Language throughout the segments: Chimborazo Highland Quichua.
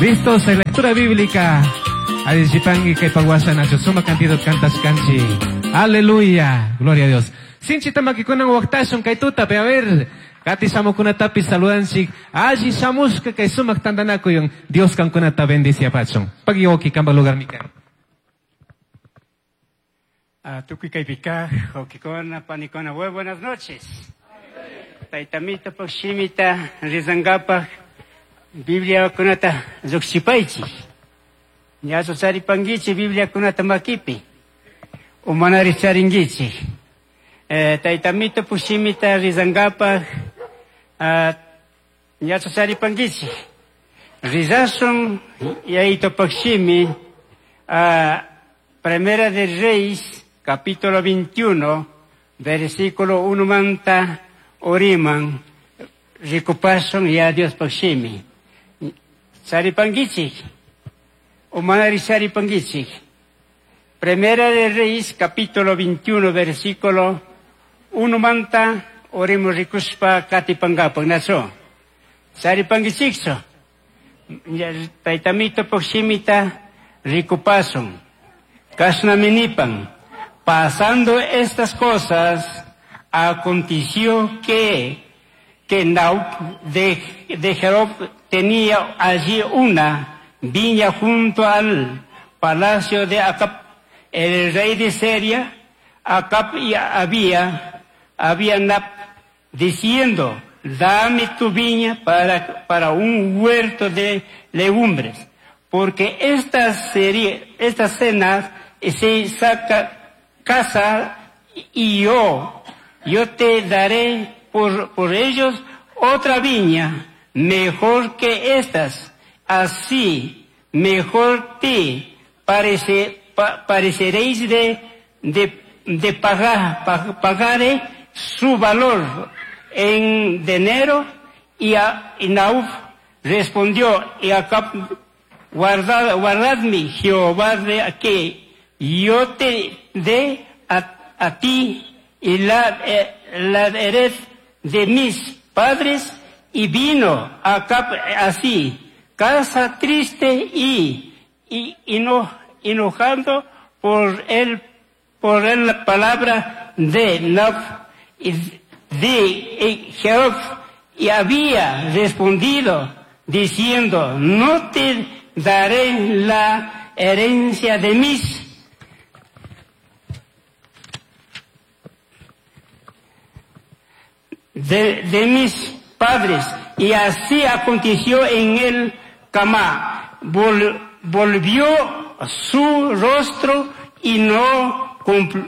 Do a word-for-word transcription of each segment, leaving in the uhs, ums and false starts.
Listos en lectura bíblica. Allichipangi kay pagwasa nacho suma cantidad cantas canchi. Aleluya. Gloria a Dios. Sinchita makikunan waqtashun kay tutapi. A ver, kati shamukunatapi saludanchik. Alli shamushka kay sumak tantanakuyun. Dios kankunata bendiciapachun. Pagi kamba lugar mikan. Tukuy kaypika, wawkikuna, panikuna, muy buenas noches. Taytamita shimita rizangapaj Biblia kunata lluqshipaychik. Ñachu charipankichik Biblia kunata makipi. Umanari charinkichik. Eh, taytamita pushimita rizangapaj ñachu charipankichik. Rizashun yayitopaj shimi Primera de Reyes, capítulo veintiuno, versículo uno manta oriman, rikupasun ya Dios pakshimi. Charipankichik, umanari charipankichik. Primera de Reyes, capítulo veintiuno, versículo uno manta orimo rikuspa katipangapag naso. Charipankichikso. Taytamito pakshimita rikupasun. Kashnaminipan. Pasando estas cosas, aconteció que, que Naub de, de Jerob tenía allí una viña junto al palacio de Acab, el rey de Siria. Acab y había, había Nab, diciendo, dame tu viña para, para un huerto de legumbres, porque esta serie, esta cena se saca casa y yo, yo te daré por, por ellos otra viña mejor que estas. Así mejor te parece, pa, pareceréis de, de, de pagar, pa, pagaré su valor en dinero. Y, a, y Nauf respondió, y Acab, guardad, guardadme Jehová de que yo te dé a, a ti y la, eh, la hered de mis padres. Y vino Acab así, casa triste y, y, y no, enojando por él, por él la palabra de Nab y de Jehová, y había respondido diciendo, no te daré la herencia de mis de, de mis padres. Y así aconteció en el Camá. Vol, volvió su rostro y no,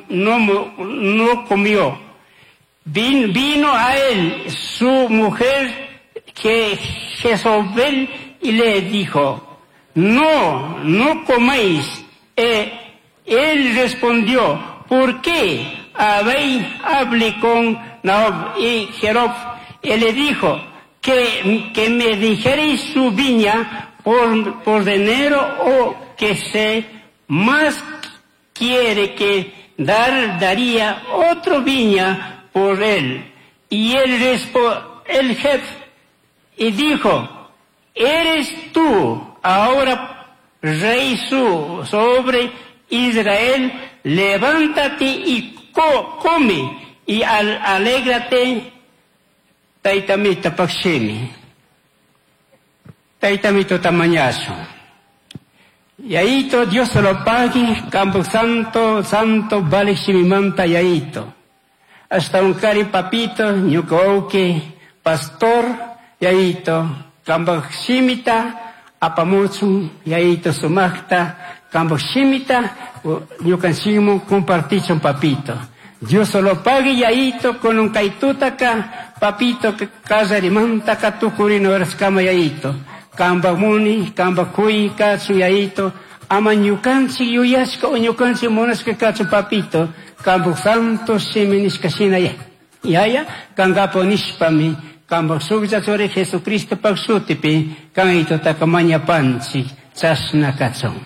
no, no comió. Vin, vino a él su mujer que Jezabel y le dijo, no, no coméis. Eh, él respondió, ¿por qué habéis hablado con Naob y Jerob? Él le dijo, que, que me dijereis su viña por, por dinero o que se más quiere que dar, daría otro viña por él. Y él respondió, el jefe, y dijo, ¿eres tú ahora rey su sobre Israel? Levántate y co come y al alégrate. Taytamita pakshimi. Taytamito tamañazo. Yaito, Dios se lo pague, campo santo, santo, vale shimimanta yaito. Hasta un cari papito, ñuka pastor, yaito, campo shimita, apamuchun, yaito sumacta, campo shimita, ñukanchikmu compartichun papito. Dios solo pague yaito con un kaitutaka, papito kallarimanta katukurino kama yaito. Kamba muni, kamba kui kachu yaito, ama ñukanchik yuyashka o ñukanchik munashka kachu papito, kamba santo shimi nishka shina yaya, kangapo nishpami, kamba suklla churi Jesucristo pak shutipi, kanitotaka mañapanchik, chashna kachun.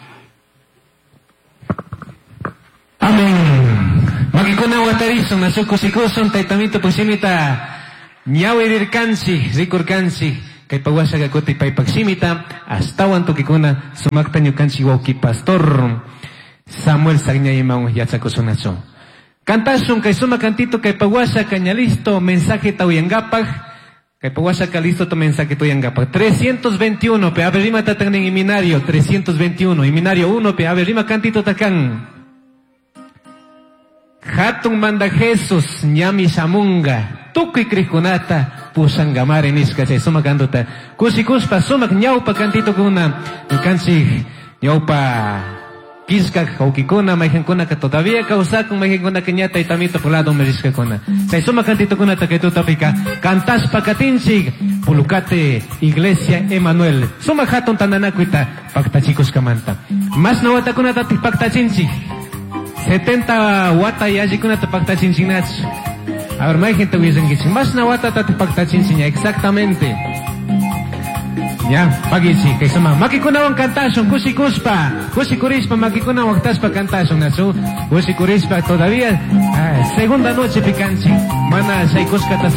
Amén. Makikuna watarishun, nasukusikusun, taytamito pusimita, ñawirirkanchik, rikurkanchik, Kay pawashaqa kuti paypak shimita astawan tukikuna sumakta ñukanchik wawki pastor Samuel Sagñayman yachakusunachu. Kantashun kay sumak kantito kay pawasha ña listo mensaje uyankapak. Kay pawasha ka listo tu mensaje uyankapak. trescientos veintiuno pe ave rima tatan himnario trescientos veintiuno himnario uno pe ave rima kantito takan. Hatun manda Jesus ñami shamunga tukuy krikunata pushangamare nishka chay sumak kantuta kushikuspa sumak ñawpa kantito kuna ñukanchik ñawpa kishka wawkikuna mayqankunaka todavía kawsakun mayqankunaka ña taytamito lado merishkakuna chay sumak kantitukunata kay tutapika kantashpa katinchik Pulucate Iglesia Emanuel sumak hatun tantanakuyta paktachikushkamanta mashna watakunatatik paktachinchik setenta wata yallikunata paktachinchiknachu. A ver, mayqinta willankichik mashna watatatik paktachinchik exactamente. Ya, pagichi, kay suma makikunawan kantashun kushikuspa, kushikurishpa makikunawan waqtashpa kantashun nachu, kushikurishpa todavía ah, segunda noche pikanchik, mana shaykushkata